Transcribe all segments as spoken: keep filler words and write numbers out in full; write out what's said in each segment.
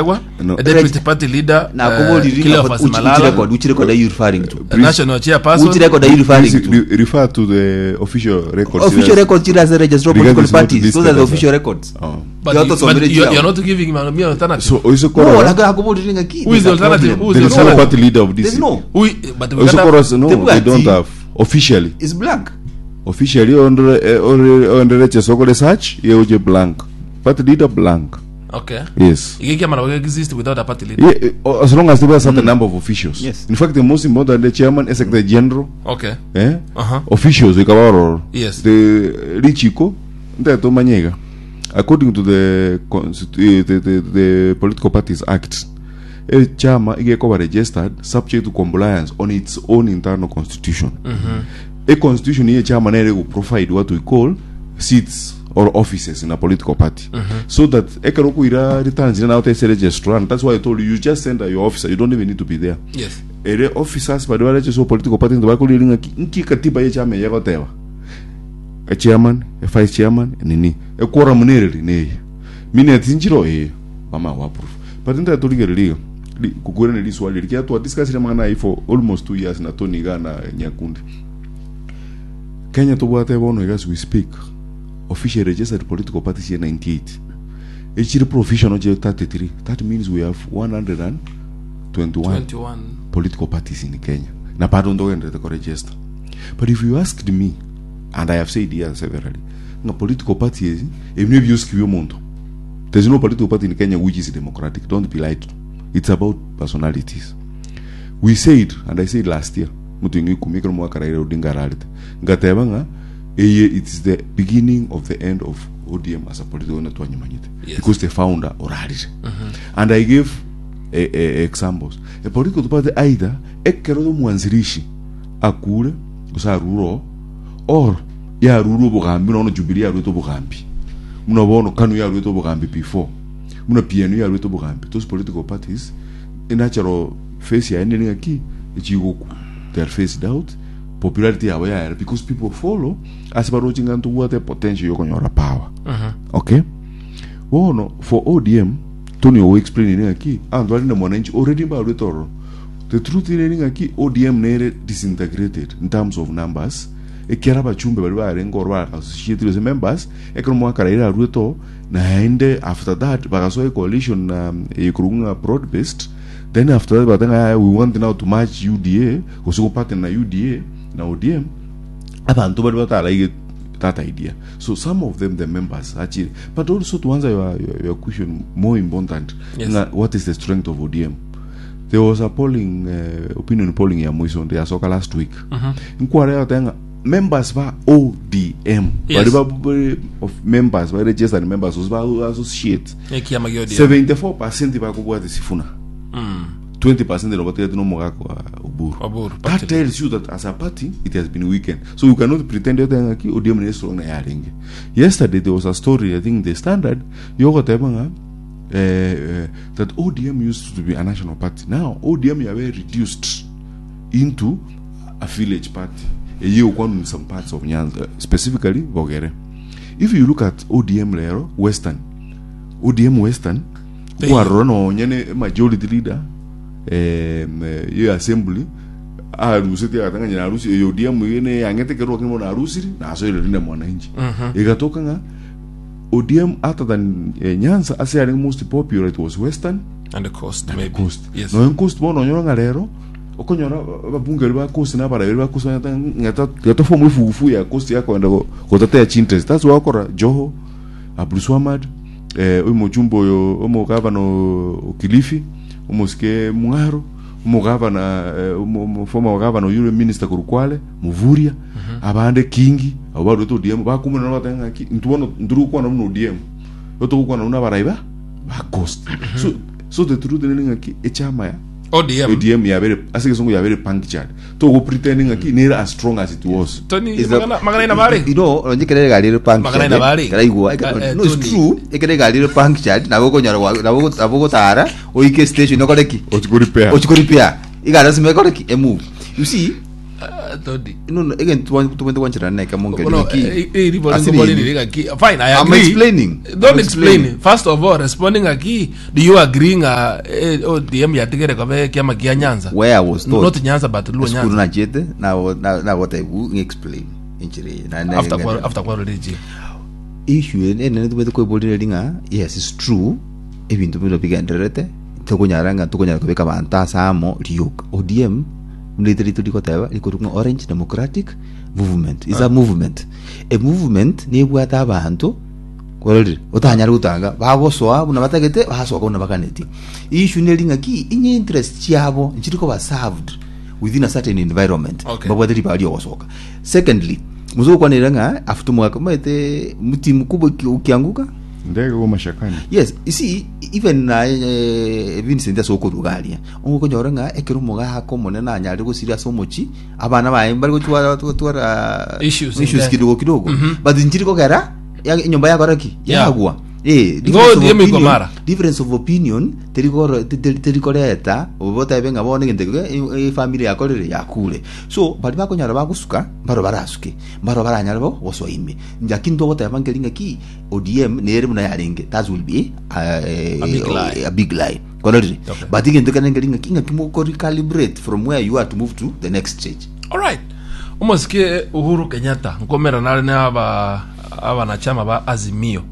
Gachagua, No. a deputy party leader, uh, Nakuboriri Cleophas which, which Malala, record which record are you referring to a national chairperson. which record are you referring Please to re- refer to the official records. official records chira as a registered Because political it's not parties those listed are the as a- official records Oh. But, The you, authors but of you, the you're not giving me an alternative. So no Oisokoro, nakuboriri ngaki Who is the alternative? Who is there the is no alternative? party leader of there's this. no Who, but we Oisokoro, can't- no, The they don't party- have officially. it's blank Officially, ondere chesoko search yeuje blank. Party leader blank. Okay. Yes. Igiki amana exist without a party leader. Yeah, eh, as long as there were a certain number of officials. Yes. In fact, the most important, the chairman, secretary general, Okay. eh? Uh-huh. officials ikabaroro Yes. the richiko nteto manyega according to the, constitu- eh, the, the, the political parties act a chama igekoba registered subject to compliance on its own internal constitution a constitution ye chama nere go provide what we call seats or offices in a political party so that ekero kuira returns now tese registrar and that's why i told you you just send your officer you don't even need to be there Yes. ere officers bari bareche political party ntibakorire ng'aki nki katiba ye chama yegoteba a chairman a vice chairman nini a quorum nereri neye minutes nchiro eh mama wa approve but nta tuligereriga kugura ne liswali likia twa discuss ile mangana for almost two years na Tony Gana Nyakundi Kenya tobwate bono as we speak officially registered political parties here ninety-eight echiri provisional je thirty-three that means we have one hundred twenty-one twenty-one. political parties in Kenya. Na bado ndogenderete kuregister. But if you asked me, and I have said here severally, nga political parties, ebintu ebyosi byomuntu. There's no political party in Kenya which is democratic. Don't be lied to. It's about personalities. We said, and I said last year, mutu ikumi kero mwaka Raila Odinga ararete. Ngateba nga eye it is the beginning of the end of O D M as a political netwanyumanyite. Yes. Because the founder orarire. And I gave eh, eh, examples. A political party either ekero mwanzilishi akure usaruro or yarure obogambi nono Jubilee yarwete obogambi muno bono KANU yarwete obogambi before muno P N U yarwete obogambi. Those political parties natural face yaende ng'aki echigoku, they are phased out, popularity yabo yayera because people follow ase baroche ng'a ntobwate potential yokonyora power. Okay, bono for O D M Tony owo explain ng'aki antu ari na mwananchi already mbarwete ororo. The truth ire ng'aki O D M nere disintegrated in terms of numbers ekiara abachumbe bari barenga oro bakassociated as members ekero mwaka Raila arwete o naende after that bagasoa coalition na ekurunga broad based. Then after that batanga we want now to match U D A gose partner na U D A na O D M abantu bari bataraige that idea. So some of them, the members actually. But also to answer your, your, your question, more important, Yes. nga, what is the strength of O D M? There was a polling, uh, opinion polling ya mwiso yasoka last week nkwara yatenga members ba O D M Yes. bari ba bari of members ba registered members ba associate Ekiama gia O D M. seventy-four percent bakubwate Sifuna, twenty percent no batigati no mugako wa Oburu. Oburu, That party. tells you that as a party it has been weakened, so you cannot pretend yote ngaki O D M ni strong na yarenge. Yesterday there was a story, I think the Standard, yogoteba nga eh, eh, that O D M used to be a national party. Now O D M yabe reduced into a village party eye ukwanu in some parts of Nyanza, specifically Bogere. If you look at O D M lero Western, O D M Western They- kwarora nonye majority leader em, eh, ye assembly arusete agatang'anya arusi eyo O D M yene yang'ete kerwa kimo na arusiri na asoire rinde mwananchi igatoka ng'a O D M other than eh, Nyanza ase ari most popular, it was Western And the coast, maybe. Coast. Yes. Noyo coast bono onyora ng'a rero okonyora ababunge bari ba coast na abarabiri ba coast ng'ata ng'ata form efugufu ya coast yakwenda go- gotetea interest. That's why okora Joho, Abdulswamad, eh oyo mochumbo oyo omogavana o Kilifi omosike Mung'aro omogavana eh, omo- omo- former governor oyure minister korukwale Muvuria abande kingi abo barwete O D M bakumena batanga ng'aki ntubono nturukwana muno O D M otogokwana buna abarai ba ba coast. So so the truth ni ng'aki echama ya O D M. O D M yabere ase gesongo yabere punctured togo pretending ng'aki nere as strong as it was. Tony, Is the- magana magana ina bari. You know onye kerere gari punctured. Magana ina bari. Karaigwa. Eh, eh, No, it's Tony. true, ekere gari punctured nabo konyora nabo nabo gotara oike station okoreki ochiko repair ochiko repair igara sime koreki e move, you see. Uh, Todi. No, no, again, tubwente kwanchirana neke mongeri Bono, ngaki. eh, eh, ribo Asiri ringo ini. bori ngaki. Fine, I I'm agree. explaining. Don't I'm explain. explaining. First of all, responding aki, do you agree nga eh, O D M yatigere kobe kiama kia Nyanza? Where I was taught. Not Nyanza but Luo School Nyanza. nachete na na na what I will explain inchire na na After kwa after kwa religion. Issue ene tubwete kwebolire ringa, yes, it's true, ebintu bino bigendererete tukunyara nga tukunyara kubika bantu asamo rioka O D M mlete ritu rikoteba rikorwa Orange Democratic Movement is a movement, a movement nibwata abantu kwarorire utanyara gutanga bagosoa buna batagete basoka buna bakaneti. Issue neri ng'aki inye interest chiabo nchiri koba served within a certain environment. Okay. Babwate ribari ogosoka. Secondly, muzokwanira ng'a after mwaka maite mti mkubwa uki- ukianguka Ndege go mashakani. Yes, you see, even na eh, Vincent asokorugaria ongokonyora ng'a ekero omogaka omonene anyare gosiria ase omochi abana baye bari gotwara gotwara Issues in issues there. kidogo kidogo, but nchiri kogera ya- enyomba yakora ki Yeah. yagwa. Eh, Go difference of D M opinion- Ikomara. Difference of opinion terikoro terikoreta obotabe ng'a bono egento e family yakorire yakure, so bari bakonyara bagosuka mbaro barasuke mbaro baranyara bo gosoa ime, lakini togoteba nkeri ng'aki O D M nere buna yarenge, that will be uh, A big lie. A big lie kororire. Okay. But egento kere nkeri ng'aki ng'aki moko recalibrate from where you are to move to the next stage. All right. Omosike Uhuru Kenyatta nkomera nare na aba abanachama ba Azimio.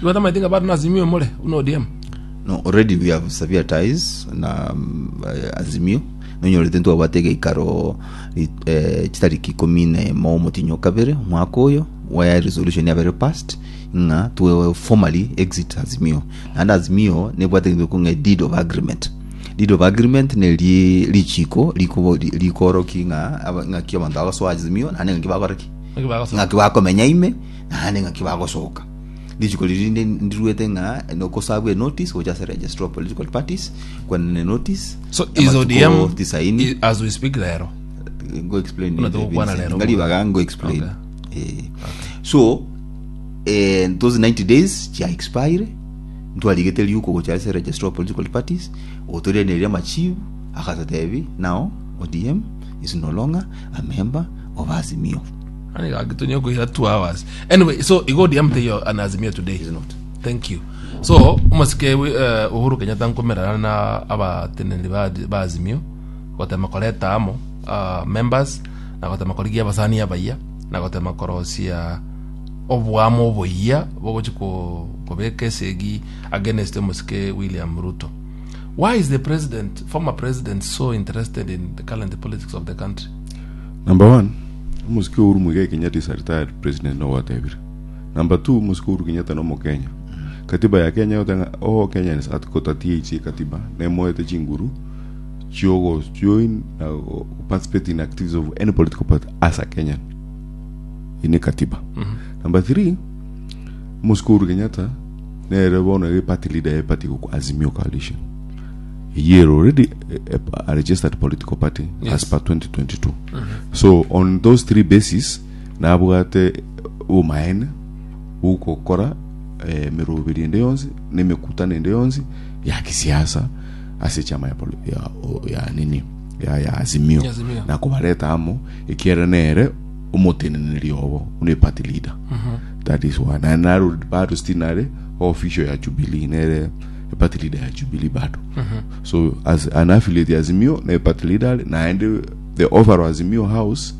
Iwata maitinga bado na Azimio mole uno O D M. No, already we have severe ties na um, eh, Azimio nonyorete ntwabwate geikaro eh, chitariki ikumi na emo omotinyo kabere omwaka oyo where resolution yabere passed ng'a to formally exit Azimio, naende Azimio nebwate gento kong'a deed of agreement. Deed of agreement neri richiko riko- rikoroki ng'a aba- ng'aki abanto bagosoa Azimio naende ng'aki bakora ki Ng'aki bagosoka. ng'aki bakomenya ime naende ng'aki bagosoka. Richiko riri ndi- ndiruete ng'a nokosabwa notice gocha ase registrar of political parties kwenene notice So is amatuko O D M tisaini. i- as we speak lero. Go explain. Una tukukwana lero. Ngalibaga ngo explain. Eh, so eh, those ninety days chia expire ntwarigete riuko gocha ase registrar of political parties otoreneria machibu akatotebi now O D M is no longer a member of Azimio. Ani gagitunyo kuira two hours. Anyway, so igo O D M teyo an Azimio today. Is not. Thank you. So omosike uh, Uhuru Kenyatta nkomerana na abateneri ba, ba Azimio gotema koreta amo uh, members na gotema korigia abasani abaiya na gotema korosia obwamo oboiya bogochi ko kobeka esegi against omosike William Ruto. Why is the president, former president, so interested in the current politics of the country? Number one, omosike Uhuru Muigai Kenyatta is a retired president no watebire. Number two, omosike Uhuru Kenyatta no Mokenya. Katiba ya Kenya yotanga all Kenyans article thirty-eight ye katiba nemoete chinguru chiogo join na go participate in activities of any political party as a Kenyan ine katiba. Number three, omosike Uhuru Kenyatta nere bono e party leader e party ku Azimio coalition year already a, a, a registered political party. Yes. As per twenty twenty-two. So on those three bases nabwate obumaene bugokora eh, mirubiri ende yonsi na emekutano ende yonsi ya kisiasa ase echama ya, poli- ya, o- ya nini ya, ya Azimio. Azimio. Na kubareta amo ekiere nere omoteneneri obo une party leader. That is one. Na naro bado still nare official ya Jubilee, nere party leader ya Jubilee bado. So as an affiliate ya Azimio na party leader na ende the overall Azimio house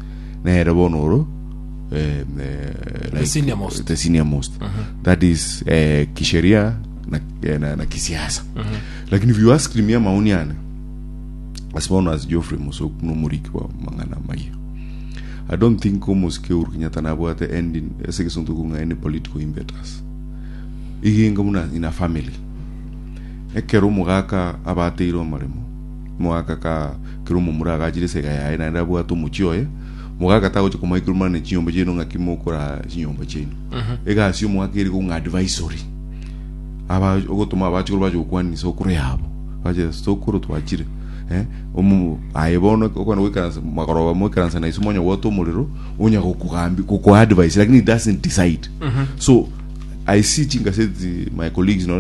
nere bonoro eh, eh, like, Senior most. The senior most. That is eh, kisheria na, eh, na, na kisiasa. Lakini if you ask me maoni yane asibono as Geoffrey Musoku nomoriki wa mang'ana maiyo, I don't think omosike Uhuru Kenyatta nabwate ending ase gesonto kung'a any political impetus iginga muna in a family ekero omogaka abateire omaremo omogaka ka kero omomura agachire esega yaye naende abwate omochi oye omogaka tagocha komaikera omana chinyomba chiaino ng'aki mokora chinyomba chiaino egasi omogaka eri kong'a advisory aba ogotuma abachikoro bache gokwanisa okoro yabo bache sokoro twachire eh omu aye bono okona goikaransa magoroba moikaransa na iso monya gwota omorero onya gokugambi goku advice, lakini it doesn't decide. So I see chingaseti my colleagues no.